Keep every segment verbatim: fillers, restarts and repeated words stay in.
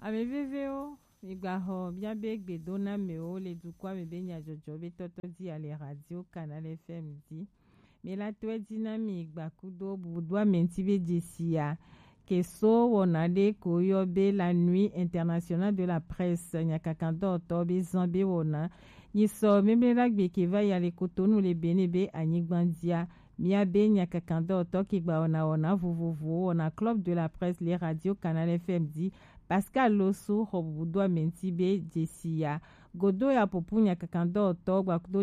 Ame vevewo, migbaxɔ miabe gbedonamewo le dukɔa me be nyajɔjɔ be tɔtɔ ji ale Radio Canal F M ji. Milatɔe ji na mi gbakudo bubudoame ŋuti be jesia ke so wɔna ɖe ko yɔ be la Nuit Internationale de la Presse nyakakadɔwɔtɔ be zan be wɔna. Nyisɔ memleɖagbe ke va yi ale Kotonu le Benin be anyigba jia. Miabe nyakakadɔwɔtɔ ke gba wɔna wɔna vovovowo wɔna Club de la Presse le Radio Canal F M ji. Pascal Losu xɔ bubudoame ŋuti be jesia. Godo ya popu nyakakadɔwɔtɔ gbakudo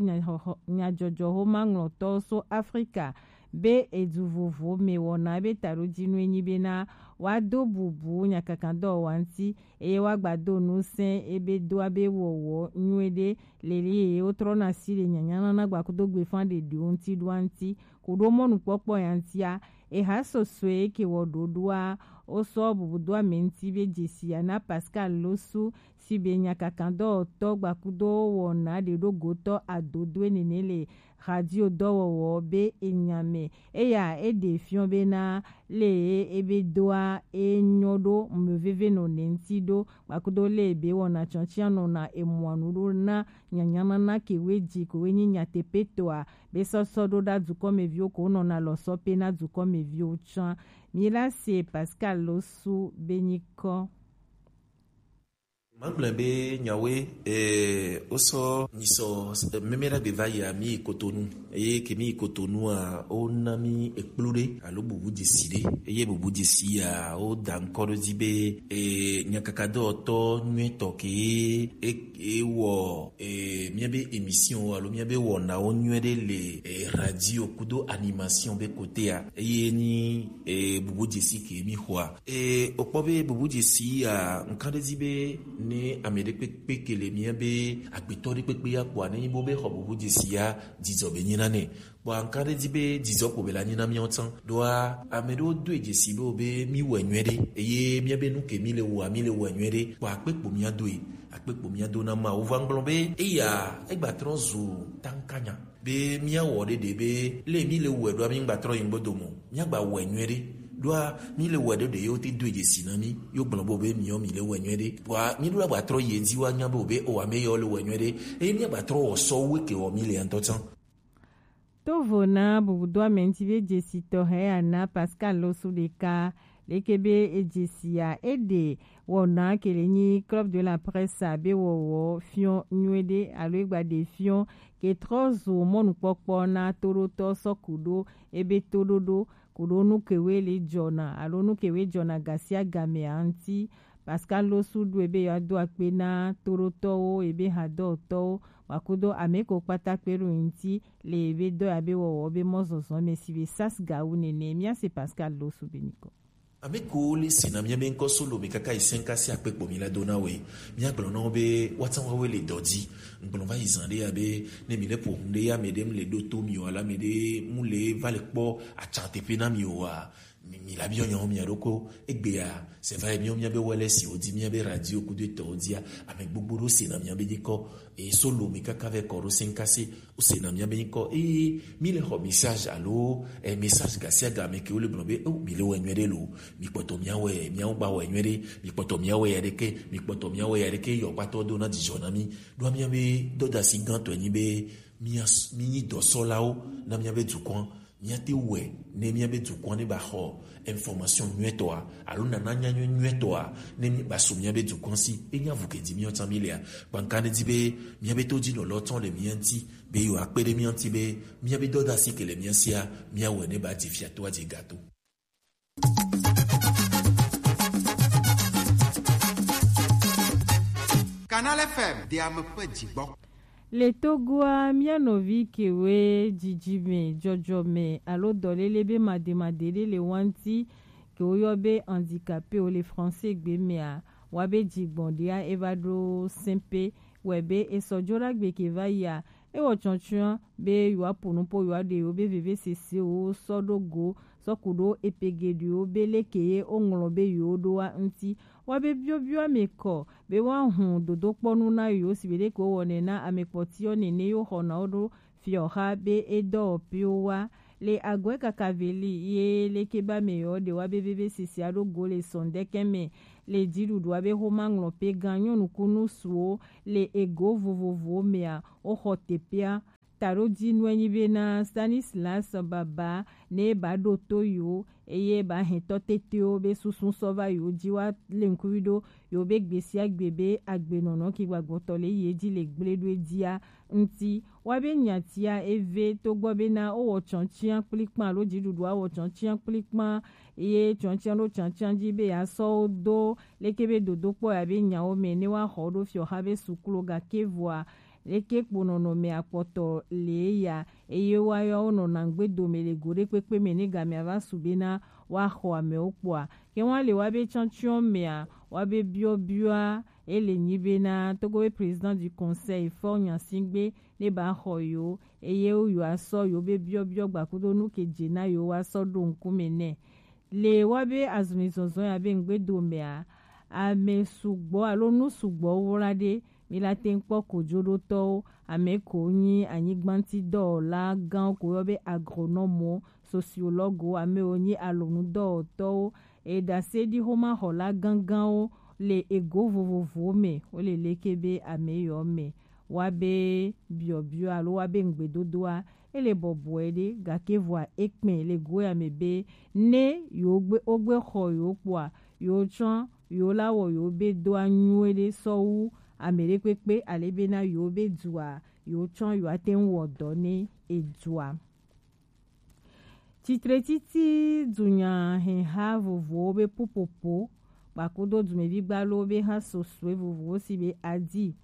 nyajɔjɔxomaŋlɔtɔ so Afrika be edu vovo me wɔna be taɖojinu enyi bena woado bubu nyakakadɔwɔwa ŋuti eye woagbado nusẽ ebe doa be wɔwɔ nyuiɖe leli eye wotrɔna si le nyanyanana gbakudo gbefan ɖeɖiwo ŋuti ɖoa ŋuti. Kuɖo mɔnukpɔkpɔ ya ŋutia, eha sɔsɔe ke wɔ ɖoɖoa, wosɔ bubudoame ŋuti be jesia na Pascal Losu si be nyakakadɔwɔtɔ gbakudo wɔna ɖeɖogotɔ adodoe nene le radio dɔwɔwɔ be enya me. Eya eɖe fiɔ bena le ebe doa enyɔ ɖo meveve nɔ ne ŋuti ɖo gbakudo le be wɔna tsɔtsia nɔna emɔa nu ɖo na nyanyanana ke we ji ko we nyi nyateƒetɔa be sɔsɔ ɖo ɖa dukɔmeviwo ko nɔna lɔsɔ pe na dukɔmeviwo tsã. Mila se Pascal Losu be nyikɔ. Magblẽ be nyawoe, eh, wosɔ nyisɔ, eh, meme ɖagbe va yia, mi yi Kotonu. Eye ke mi yi Kotonua, wona mi ekplu ɖe alo bubu dzesi ɖe. Eye bubu dzesi ya, woda ŋkɔ ɖe dzi be, eh, nyakakadɔwɔtɔ nyuitɔ ke e, e wɔ, eh, miabe émission alo miabe wɔnawo nyuie ɖe le, eh, radio kudo animation be kotea. Eye ni, eh, bubu dzesi ke mi xɔa. E, wokpɔ be bubu dzesi ya, ŋkan ɖe dzi be ne ame ɖe kpekpe ke le mía be agbetɔ ɖe kpekpe ya kpɔa, ne nyi bo be xɔ bubu dzesi ya, dzidzɔ be nyi na nɛ. Kpɔa ŋkan ɖe dzi be dzidzɔ kpo be la nyi na míawo tsã. Ɖoa ame ɖewo doe dzesi be wo be mí wɔe nyuie ɖe. Eye mía be nu ke mí le wɔa, mí le wɔe nyuie ɖe. Kpɔa akpe kpo mía doe, akpe kpo mía do na Mawu. Va ŋgblɔ be eya egba trɔ zu tankanya. Be míawɔ ɖeɖe be le mí le wɔe ɖoa mí ŋgba trɔ yi ŋgbo do mɔ. Míagba wɔe nyuie ɖe. Ɖoa mí le wɔe ɖeɖe yewo te do dzesi na mí. Yo gblɔ bo be míɔ mí le wɔe nyuie ɖe. Kpɔa mí ɖo la gba trɔ yi edzi wa nya bo be o ame yewo le wɔe nyuie ɖe. Eye míagba trɔ wɔ sɔ wu ke wɔ mí le ŋutɔ tsã. Tovo na bubudoame ŋuti be dzesi tɔxɛ ya na Pascal Losu ɖeka. Leke be edzesi ya eɖe wɔna ke le nyi Club de la Presse be wɔwɔ fiɔ nyuie ɖe alo egba ɖe fiɔ ke trɔ zu mɔnukpɔkpɔ na toɖotɔ sɔ kuɖo ebe toɖoɖo kuɖo nu kewe le jɔna alo nu kewe jɔna gasiagamea ŋuti. Pascal Losu ɖo ebe yewoado akpe na toɖotɔwo ebe hadɔtɔwo wakudo ame ko kpata kpe ɖo ŋuti le ebe dɔ ya be wɔwɔ be mɔzɔzɔ me si be sas gawu nene. Míase Pascal Losu be nyikɔ. Ame ko le sena mía be ŋkɔ solo mi kaka yi sɛnka si akpe kpo mi la do na we. Mía gblɔ na wo be woatsã woawoe le dɔ dzi. Ŋgblɔ va yi zã ɖe ya be ne mi le ƒo nu ɖe ya ame ɖe mu le ɖo to mi o alo ame ɖe mu le va le kpɔ atsa teƒe na mi o wa. Mi, mi la biɔ nyawo mia ɖokɔ egbea, c'est vrai, míawo míabe wɛlɛ si wodi míabe radio kudo etɔwo dia, ame gbogbo ɖo sena míabe nyikɔ, e solo mi kaka vɛ kɔ ɖo senkase, wo sena míabe nyikɔ, e mi le xɔ message alo, e message gasiaga me ke wo le gblɔ be, o, mi le wɛ nyuie ɖe lo, mi kpɔtɔ mia wɛ, miawo gba wɛ nyuie ɖe, mi kpɔtɔ mia wɛ ya ɖeke, mi kpɔtɔ mia wɛ ya ɖeke, yɔ kpatɔ do na dzidzɔ na mi, ɖo míabe dɔdasi gãtɔ nyi be, mia, mi nyi dɔsɔlawo na míabe dukɔa. Míate wɔe ne míabe dukɔa ne ba xɔ information nyuietɔa alo nana nyanyui nyuietɔa ne mi ba su míabe dukɔa si. Enya vu ke di míawo tsã mi lea. Kpanka ne di be míabe to dzi nɔlɔ tsɔ le mía ŋuti be yewoa kpe ɖe mía ŋuti be míabe dɔdasi ke le mía sia míawɔe ne ba dzi fia to adze gato. Canal F M de ame ƒe dzigbɔ. Le Togoa, mía nɔvi kewoe dzidzime, dzɔdzɔme alo dɔléle be mademade ɖe le wa ŋuti, ke woyɔ be handicapé wo le français gbe mea, wa be dzigbɔɖia eva ɖo sɛnpe, wɛ be esɔ dzo ɖagbe ke va yia, ewɔ tsɔtsɔa be yewoaƒo nu po yewoaɖe yewo be vevesesewo sɔ ɖo go, sɔ ku ɖo epe geɖewo be leke ye woŋlɔ be yewoɖoa ŋuti. Woabe biɔbiɔ ame kɔ be woahu dodokpɔnu na yewo si be ɖeko wowɔnɛ na ame kpɔtiwo nene yewo xɔna wo ɖo fiɔxa be edɔwɔƒewo wa. Le agɔe kaka veli ye leke be ame yewo ɖe woabe vevesesea ɖo go le sɔndɛkɛ me. Le jiɖuɖua be xoma ŋlɔpe gan nyɔnu kunu suwo le ego vovovowo mea, woxɔ teƒea. Taɖodzinue nyi bena Stanislas Baba ne ba ɖo to yo eye ba hɛn tɔ tetewo be susu sɔ va yo ji wa le ŋkuvi ɖo yo be gbesia gbe be agbenɔnɔ ki gbagbɔtɔ le yi edzi le gble ɖo edzia ŋuti. Wa be nyatia eve togbɔ bena wowɔ tsɔntsia kplikpan alo dziɖuɖua wɔ tsɔntsia kplikpan ye tsɔntsia ɖo tsantsia dzi be yeasɔ wo do leke be dodokpɔ ya be nyawo me ne woaxɔ wo ɖo fiɔxa be suklo gake vɔa leke kpo nɔnɔme akpɔtɔ le ya eye woayɔ wonɔna ŋgbe dome le go ɖe kpekpe me ne gamea va su bena woaxɔ amewo kpɔa. Ke wọn le wa be tsɔntsia mea wa be biɔbiɔa ele nyi bena Togo be président du conseil Faure Gnassingbé ne ba xɔ yo eye wo yo asɔ yo be biɔbiɔ gbakudo nu ke dze na yo wa sɔ ɖo ŋkume nɛ. Le wa be azumi zɔzɔ ya be ŋgbedo mea, ame sugbɔ alo nu sugbɔ wla ɖe mi la te ŋkpɔ kojoɖotɔwo, ame ko nyi anyigba ŋuti dɔwɔla gãwo ko yɔ be agronɔmwo, sociologuewo, ame wo nyi alonudɔwɔtɔwo, eɖaseɖixomaxɔla gãgãwo le ego vovovowo me, wo le leke be ame yɔ me. Wa be biɔbiɔ alo wa be ŋgbedodoa, ele bɔbɔe ɖe, gake vɔa ekpɛ le go ya me be ne yewo gbe wo gbe xɔ yewo kpɔa, yewo tsɔ yewo la wɔ yewo be doa nyuie ɖe sɔ wu ame ɖe kpekpe ale bena yewo be dua yewo tsɔ yewo ate ŋu wɔ dɔ ne edua. Tsitre titi dunya hɛha vovowo be ƒuƒoƒo kpakudo dumevi gbalo be ha sosue vovowo si be adi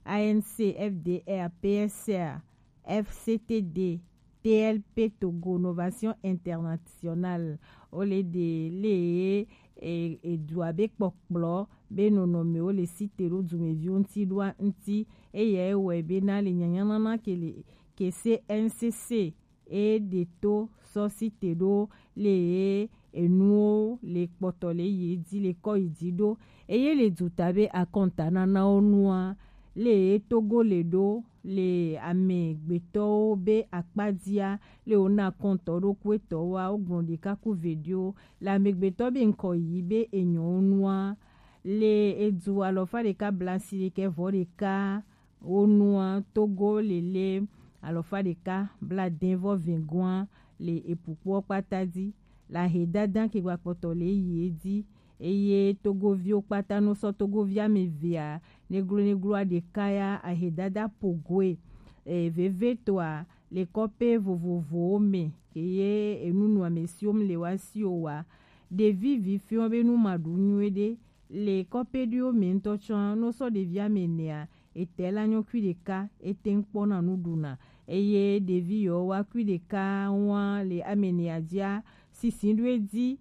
A N C, F D R, P S R, F C T D, T L P Togo Novation Internationale, wo le ɖe le e, edua be kpɔkplɔ be nɔnɔmewo le site ɖo dumeviwo ŋuti ɖoa ŋuti. Eya ewɔe bena le nyanyanana ke le ke C N C C e ɖe to sɔ site ɖo le ye enuwo le kpɔtɔ le ye dzi le kɔ yi dzi ɖo eye le duta be akɔntananawo nua le ye Togo le ɖo le amegbetɔwo be akpadzia le wona kɔntɔ ɖo kuetɔwoa wogblɔ ɖeka ku veɖiwo le amegbetɔ be ŋkɔ yi be enyɔwo nua le edu alɔfa ɖeka blasi ɖekɛ vɔ ɖeka wo nua Togo lele alɔfa ɖeka bladen vɔ vɛgoa le epukpoɔ kpata dzi le ahedada ke gbakpɔtɔ le yi edzi eye Togoviwo kpata no sɔ Togovi ame evea neglo negloa ɖeka ya ahedada pogoe e, vevetoa le kɔƒe vovovowo me ke ye enunɔamesiwo le wa si o wa ɖevi vi fiɔ be nu ma ɖu nyuie ɖe le kɔƒe ɖiwo me ŋutɔ tsɔ no sɔ ɖevi ame enea etɛ la nyɔ kui ɖeka ete ŋkpɔna nu ɖuna eye ɖevi yɔ wa kui ɖeka wa le ame enea dzia sisi ɖo edzi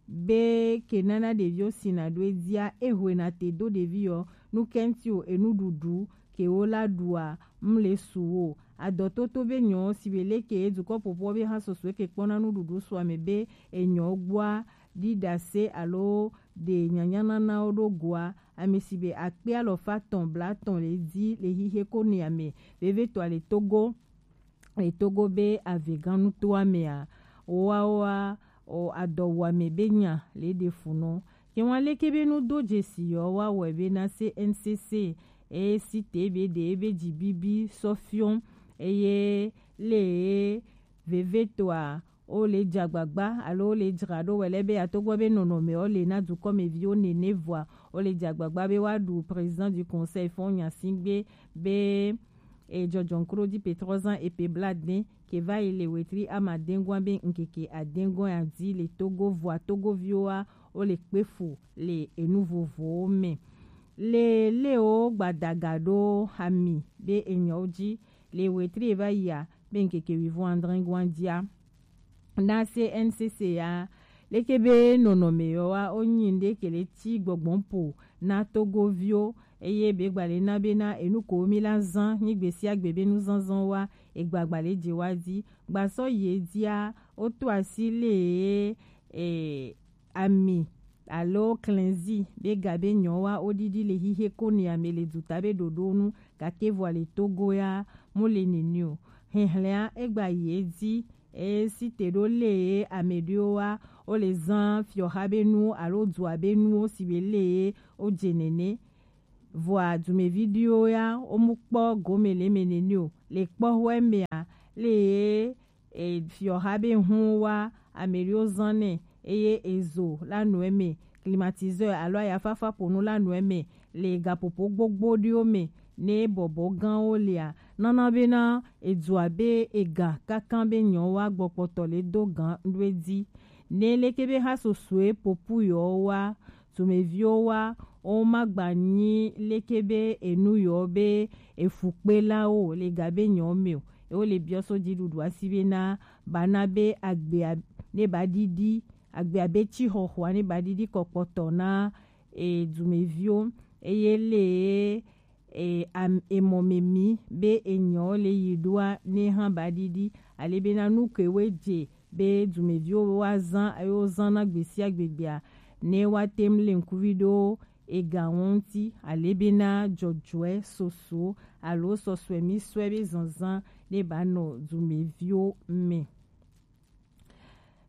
be ke nana ɖeviwo sina ɖo edzia ehoena te do ɖevi yɔ nu kɛnti o enuɖuɖu ke wo la ɖua mle su wo adɔtoto be nyɔ si be leke dukɔ ƒoƒo be ha soso ke kpɔna nuɖuɖu su ame be enyɔ gbɔa ɖiɖase alo ɖe nyanyananawo ɖo goa ame si be akpe alɔfa tɔn blatɔn le dzi le xixe ko ne ame vevetɔa le Togo le Togo be avegãnutoa mea woawoa o adɔwuame be nya le ɖe funɔ ke wan leke be nu do dzesi yɔ wa wɔe be na se N C C e si te be ɖe ebe dzi bibi sɔ fiɔ eye le vevetɔa o le dze agbagba alo o le dzra ɖo wɛ lɛ be atogbɔ be nɔnɔme o le na dukɔmeviwo nene vɔa o le dze agbagba be wa ɖu président du conseil fɔ nyasi gbe be e dzɔdzɔnkro di pe trɔzan e pe bla de ke va yi le wetri ama dengua be nkeke adengua ya di le Togo vɔa Togoviwoa o le kpe fu le enu vovowo me le le o gbadaga ɖo hami be enyawo dzi le wetri e va yia be nkeke wivɔn adrengua dia na se N C C ya leke be nɔnɔme yɔ wa o nyi nde ke le ti gbɔgbɔn po na Togoviwo eye be gba le na be na enu ko mi la zan nyi gbe sia gbe be nu zanzan wa egba gba le dze wa di gba sɔ ye dia o to asi le e ami alo klɛnzi be ga be nyɔ wa o ɖiɖi le xixe ko ne ame le duta be ɖoɖo nu gake vɔ le Togo ya mo le nene o hɛhlɛa egba ye di e si te ɖo le e ame ɖewo wa wo le zan fiɔha be nu alo dua be nuwo si be le ye wo dze nene. Vɔa dumevi ɖewo ya wo mu kpɔ gome le eme nene o. Le kpɔxɔe mea, le ye e, fiɔha be hun wa ame ɖewo zan nɛ eye ezo la nɔ eme, climatiseur alo ayafafa ƒonu la nɔ eme le gaƒoƒo gbogbo ɖewo me ne bɔbɔ gãwo lia, nana bena edua be ega kankan be nyɔwa gbɔkpɔtɔ le do gan ɖo edzi. Ne leke be ha sosoe popu yɔ wa, dumeviwo wa, wo ma gba nyi leke be enu yɔ be efukpelawo le ga be nyɔ me o. Ewo le biɔ so dziɖuɖua si bena bana be agbea ne ba ɖiɖi, agbea be tsi xɔxɔa ne ba ɖiɖi kɔkpɔtɔ na e, dumeviwo eye le e, am, emɔ me mi be enyɔ le yi ɖoa ne hã ba ɖiɖi ale bena nu ke we dze be dumeviwo wa zan eye wo zan na gbesia gbegbea ne wa tem le ŋkuvi ɖo ega ŋuti ale bena dzɔdzɔe soso alo sɔsɔe mi sɔe be zanzan ne ba nɔ dumeviwo me.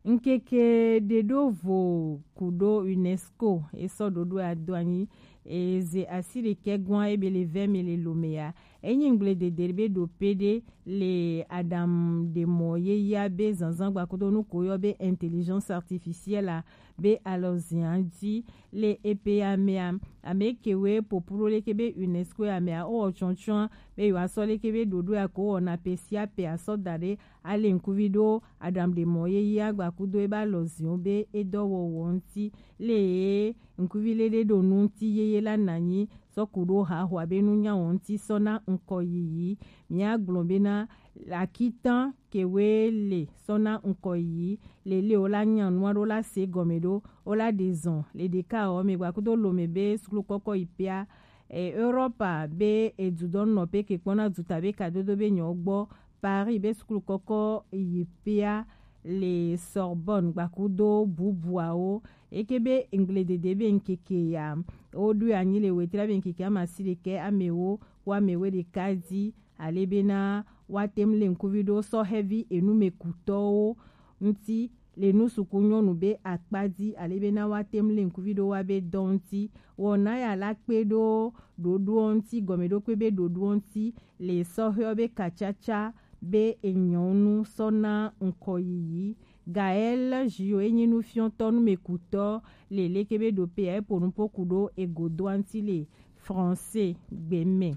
Ŋkeke ɖeɖo vo kuɖo UNESCO esɔ ɖoɖo ado anyi eze asi ɖekɛ gwan ebe le vɛ me le lome ya. Enyi ŋgble dede be ɖo pe ɖe le Adam ɖe mɔ ye ya be zanzan gbakudo nu ko yɔ be intelligence artificielle a be alɔzia dzi le epe ya mea, ame kewe popuro leke be UNESCO ya mea o tsɔtsɔa be yewoasɔ leke be ɖoɖo ya ko wɔna pe sia pe asɔ da ɖe ale ŋkuvi ɖo Adam ɖe mɔ ye ya gbakudo ebe alɔziwo be edɔwɔwɔ ŋuti le ye ŋkuvi le ɖe ɖo nu ŋuti yeye la nanyi sɔ ku ɖo haxoa be nunya wɔ ŋuti sɔ na ŋkɔ yiyi. Mia gblɔ bena akitan kewe le sɔ na ŋkɔ yiyi le le wo la nya nua ɖo la se gɔme ɖo wo la ɖe zɔn le ɖeka wɔ me gbakudo lome be suklu kɔkɔ yi pea e, Europa be edudɔnnɔ pe ke kpɔna duta be kadodo be nyɔ gbɔ Paris be suklu kɔkɔ yi pea le Sorbonne gbakudo bubuawo eke be ŋgble dede be ŋkeke ya wo ɖo anyi le wetri be ŋkeke amasi ɖekɛ amewo wo amewe ɖeka di ale bena woate ŋu le ŋkuvi ɖo sɔ hevi enumekutɔwo ŋuti le nu suku nyɔnu be akpa di ale bena woate ŋu le ŋkuvi ɖo wa be dɔ ŋuti wɔna ya la kpe ɖo ɖoɖoɔ ŋuti gɔmeɖokpe be ɖoɖoɔ ŋuti le sɔhɛɔ be katsatsa be enyɔnu sɔ na ŋkɔ yiyi. Gaël Jio enyi nufiɔtɔ numekutɔ le leke be ɖo pe ya epo nupo ku ɖo egodoa ŋuti le français gbe me.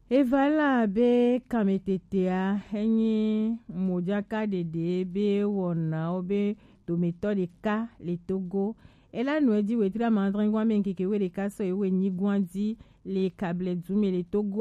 Eva la be kametetea enyi mojaka ɖeɖe be wɔnawo be dometɔ ɖeka le Togo. Ela nɔ edzi wetri amadrɛngwa me ŋkeke we ɖeka sɔ ewe nyigwa dzi le kable dume le Togo.